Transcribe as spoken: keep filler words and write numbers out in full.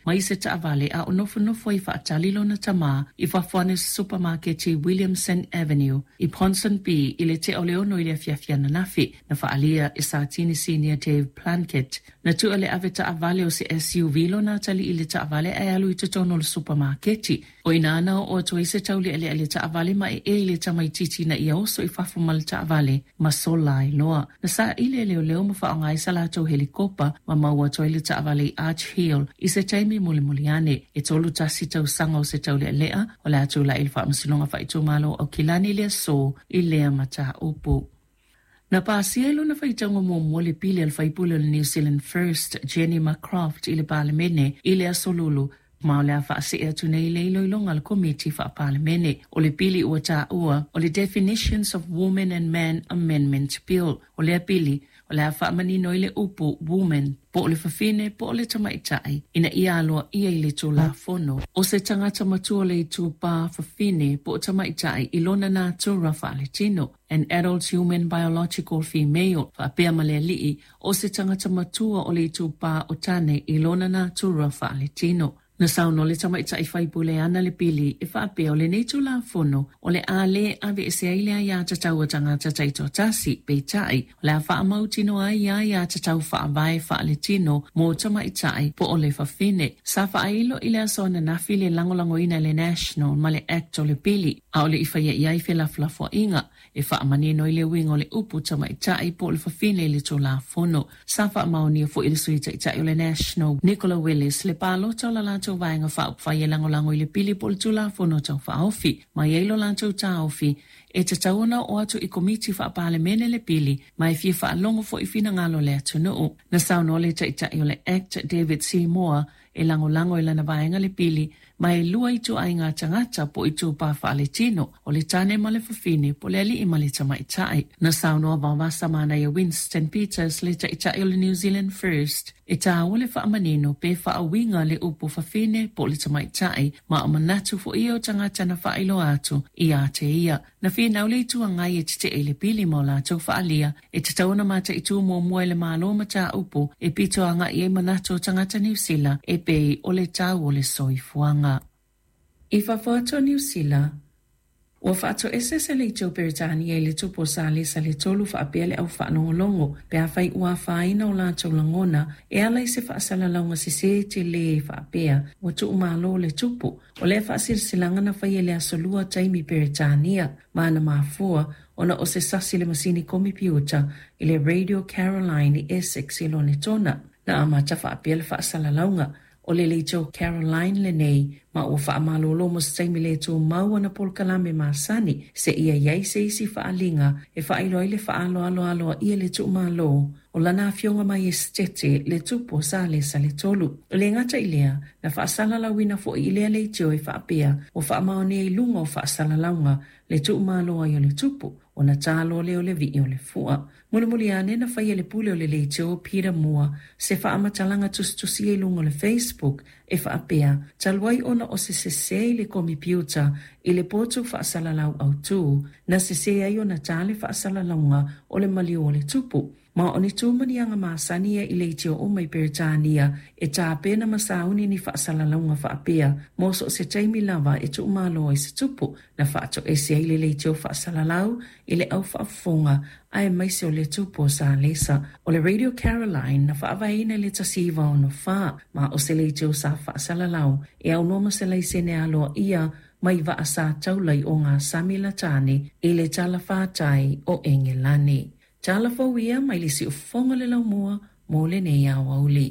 mai se taavale a o nofonofo ai faatali lona tamā i fafo ane o se supamaketi i Williamson Avenue i Ponsonby i le tea o le ono i le afiafi ananafi. Na faaalia e Satini Sinia Dave Plunkett. Na tua le avetaavale o se S U V lona atalii i le taavale ae alu i totonu o le supamaketi. O ina na oo atu ai se taulealea i le taavale ma ee i le tamaitiiti ina ia oso i fafo ma le taavale ma sola ai loa. Na saili e leoleo ma faaaoga ai sa latou helikopa ma maua atu ai le taavale i Arch Hill i se taimi mulimuli ane. E tolu tasi tausaga o se taulealea o le a tulai i le faamasinoga faaitumalo o Aukilani le aso i lea mataupu. Na pasia i lona faitauga muamua le pili a le faipule o le New Zealand First, Jenny McCroft, i le Palemene i le aso Lulu, ma o le a faasee atu nei le iloiloga a le Komiti Faa-Palemene. O le pili ua taua o le Definitions of Women and Men Amendment Bill. O lea pili, o le a faamanino i le upu woman, po o le fafine, po o le tamaitai, ina ia aloaia i le Tulafono. O se tagata matua le itupa fafine po o tamaitai i lona natura faaletino, an adult human biological female, faapea ma le alii, o se tagata matua o le itupa o tane i lona natura faaletino. Na saunoa le tamaitai faipule ana le pili e faapea o lenei Tulafono o le a le aveese ai le aiatatau a tagata taitoatasi, peitai o le a faamautinoa ai ia aiatatau faavae faaletino mo tamaitai po o le fafine. Sa faailo i le aso ananafi le lagolagoina e le National ma le Act o le pili, a o le i faia i ai felafolafoaiga e faamanino i le uiga o le upu tamaitai po o le fafine i le Tulafono. Sa faamaonia foi le sui taitai o le National, Nicola Willis, le palota o la latou vaega faaupufai e lagolago i le pili po o le Tulafono tau faaofi, ma i ai lo latou taofi e tatau ona oo atu i Komiti Faa-Palemene le pili, ma e fia faalogo foi finagalo o le atunuu. Na saunoa le taitai o le Act, David Seymour, e lagolago i lana vaega le pili, ma e lua ituaiga tagata po o itupa faaletino, o le tane ma le fafine, po o le alii ma le tamaitai. Na saunoa Vaovasa Manaia Winston Peters, le taitai o le New Zealand First, e taua le faamanino pe faauiga le upu fafine po o le tamaitai, ma o manatu foi ia o tagata na faailoa atu ia te ia. Na finau le itu agai e tetee i le pili ma o latou faalia, e tatau ona mataitu muamua i le Malo mataupu e pito agai ai manatu o tagata Niu Sila e pei o le tau o le soifuaga. I fafo atu o Niu Sila, ua faatoese se leitio Peretania i le tupu o Salesa le tolu faapea le au faalogologo pe afai ua afaina o latou lagona e ala i se faasalalauga sesē telē faapea ua tuumalo le tupu. O lea faasilasilaga na faia i le aso lua taimi Peretania ma na mafua ona o se sasi le masini komipiuta i le Radio Caroline i Essex i Lonetona. Na amata faapea le faasalalauga o le leitio Caroline lenei ma ua faamalolo mo se taimi le tumau ana polokalame masani seia i ai se isi faaliga e faailoa ai le faaaloaloaloaia le tuumalo o lana afioga maiestete le tupu o Salesa le tolu. O le gata i lea, na faasalalauina foi i lea leitio e faapea ua faamaonia i luga o faasalalauga le tuumalo ai o le tupu, ona talo lea o le vii o le fua. Mulimuli ane na faia le pule o le leitio Peter Moore se faamatalaga tusitusia i luga o le Facebook e faapea talu ai ona o se sesē i le komipiuta i le potu faasalalau autū, na sesē ai ona tā le faasalalauga o le maliu o le tupu. Ma o ni tumaniaga masani ia i leitio uma i Peretania e tapena ma sauni ni faasalalauga faapea mo so o se taimi lava e tuumalo ai se tupu, na faatoese ai le leitio faasalalau i le au faafofoga aemaise o le tupu o Salesa. O le Radio Caroline na faavaeina i le tasi iva ono fa, ma o se leitio sa faasalalau e aunoa ma se laisene aloaia mai vaa sa taula i o ngā sami latane i le talafātai o Engelane. Tala fou ia mai le siufofoga o le laumua mo lenei aoauli.